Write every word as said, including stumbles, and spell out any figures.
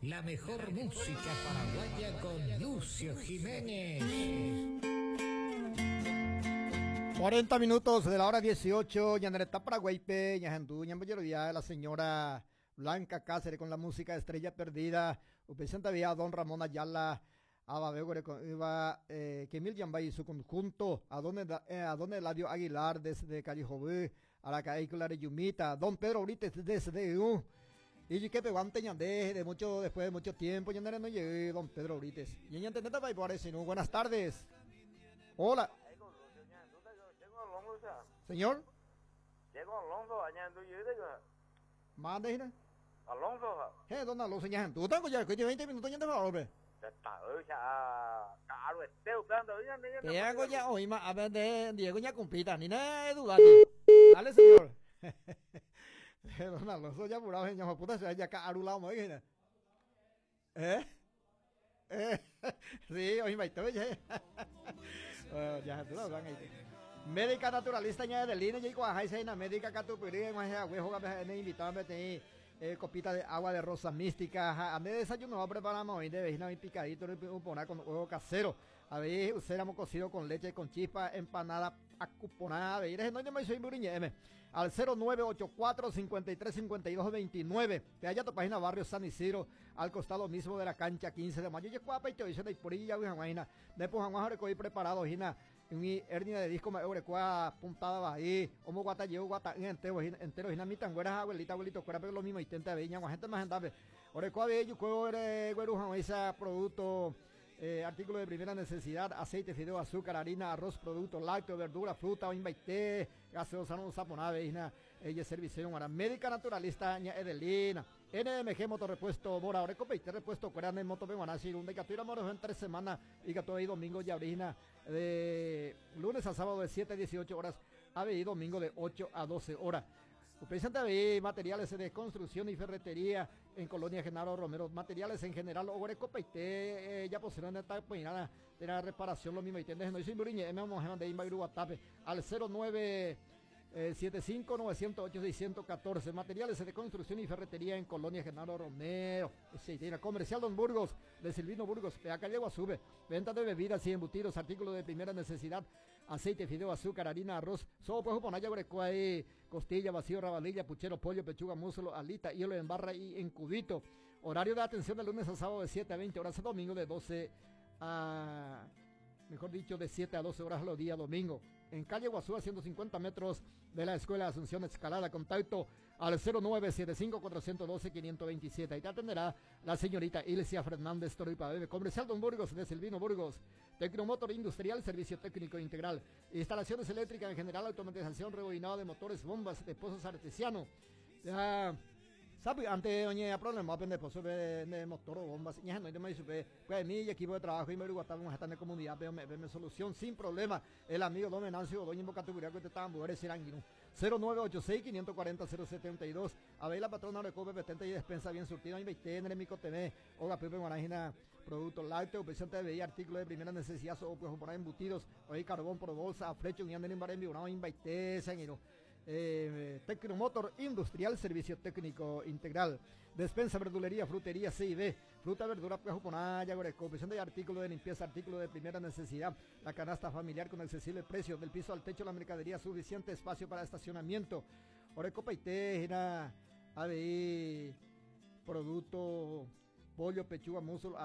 La mejor música paraguaya con Lucio Jiménez. cuarenta minutos de la hora dieciocho, ñane retã Paraguáipe, ñahendu, ñambojerovia la señora Blanca Cáceres con la música Estrella Perdida, upéichante avei don Ramón Ayala, avave iba eh, Kemil Yambay y su conjunto, a don, eh, a don Eladio Aguilar desde Callejobú, a la calle Yumita, don Pedro Brites desde U, y que peguante ñande de mucho, después de mucho tiempo, ñande no llegué, don Pedro Brites. Y buenas tardes. Hola. Señor. Mande, Gina. Alonso. Eh, don Alonso, ya tú tengo ya, que veinte minutos ya te va, hombre. Te hago ya hoy, a ver, de Diego ya cumpita, ni nada duda. Dale, señor. Don Alonso ya apurado, ya puta, se ya arulado, ¿no? ¿Eh? Eh, sí, hoy me estoy ya. Ya tú lo van ahí. Médica naturalista ña Edelina, y cuaja médica catupiri, me invitado a tener eh, copita de agua de rosa mística. A de desayuno preparamos hoy de vecina un picadito, un poná con huevo casero. A ver, usáramos cocido con leche, con chispa, empanada acuponada. A ver, no me soy al cero nueve ocho cuatro, cincuenta y tres, cincuenta y dos, veintinueve. Te halla tu página Barrio San Isidro, al costado mismo de la cancha quince de mayo. Y te dicen de por ahí, ya, después, Juan, preparado, Gina. Mi hernia de disco me obrecua puntada ahí, homo guata llevo guata entero, entero, hina mi tanguera abuelita, abuelito, cuera, pero lo mismo, intenta veña, gente más andable. Orecua bello, cuore, güeruja, esa producto, eh, artículo de primera necesidad, aceite, fideo, azúcar, harina, arroz, producto lácteo, verdura, fruta, oimbaité, gaseosa, no saponave, hina, ella servicio, ahora médica naturalista, ña Edelina, N M G, motorrepuesto, Bora, Oreco, Peite, repuesto, Cuerane, Moto, Benguanasi, Irunda, y Catuira, Moro, en tres semanas, y Catuira, y domingo, y abrina, de lunes a sábado de siete a dieciocho horas, A B I, domingo de ocho a doce horas. Presenta A B I, materiales de construcción y ferretería en Colonia Genaro Romero, materiales en general, Oreco, Peite, eh, ya pusieron esta peinada de la reparación, lo mismo, y tiendes, no, y sin Buriñe, M. Mojema de Imba, Iruguatape, al cero nueve, eh, siete cinco, novecientos ocho, seiscientos catorce. Materiales de construcción y ferretería en Colonia Genaro Romero. Sí, tiene Comercial Don Burgos, de Silvino Burgos, de acá llego a sube. Venta de bebidas y embutidos, artículos de primera necesidad, aceite, fideo, azúcar, harina, arroz, sopa, juponaya, brecuay, costilla, vacío, rabanilla, puchero, pollo, pechuga, muslo, alita, hielo en barra y en cubito. Horario de atención de lunes a sábado de siete a veinte horas, domingo de doce a, mejor dicho, de siete a doce horas los días domingo. En calle Guazú, a ciento cincuenta metros de la Escuela Asunción Escalada. Contacto al cero nueve siete cinco, cuatrocientos doce, quinientos veintisiete. Ahí te atenderá la señorita Ilcia Fernández Toripa Bebe. Comercial Don Burgos, de Silvino Burgos. Tecnomotor Industrial, servicio técnico integral. Instalaciones eléctricas en general, automatización, rebobinado de motores, bombas de pozos artesiano. Ya, ¿sabe? Antes, oye, problema, aprende pozo de, de motor o bombas. Ya no, yo me dice, pues mi equipo de trabajo y me digo, estamos en esta comunidad, veo, me, veo solución sin problema. El amigo don Venancio, doña Invocatura, que te estaban mujeres, serán cero nueve ocho seis, quinientos cuarenta, cero setenta y dos. A ver, la patrona de Cope, petente y despensa bien surtida. Invertir en el Mico T V, Oga Pepe Guarajina, productos lácteos, presente de veía, artículos de primera necesidad, o pues poner embutidos, hoy carbón por bolsa, flecho, y anden en Barembi, una invertir, señor. Eh, Tecnomotor Industrial, servicio técnico integral, despensa, verdulería, frutería, C y B, fruta, verdura, pues, juponaya, goreco, presión de artículos de limpieza, artículos de primera necesidad, la canasta familiar con accesible precio, del piso al techo la mercadería, suficiente espacio para estacionamiento, orecopa y tejera, A B I, producto, pollo, pechuga, muslo,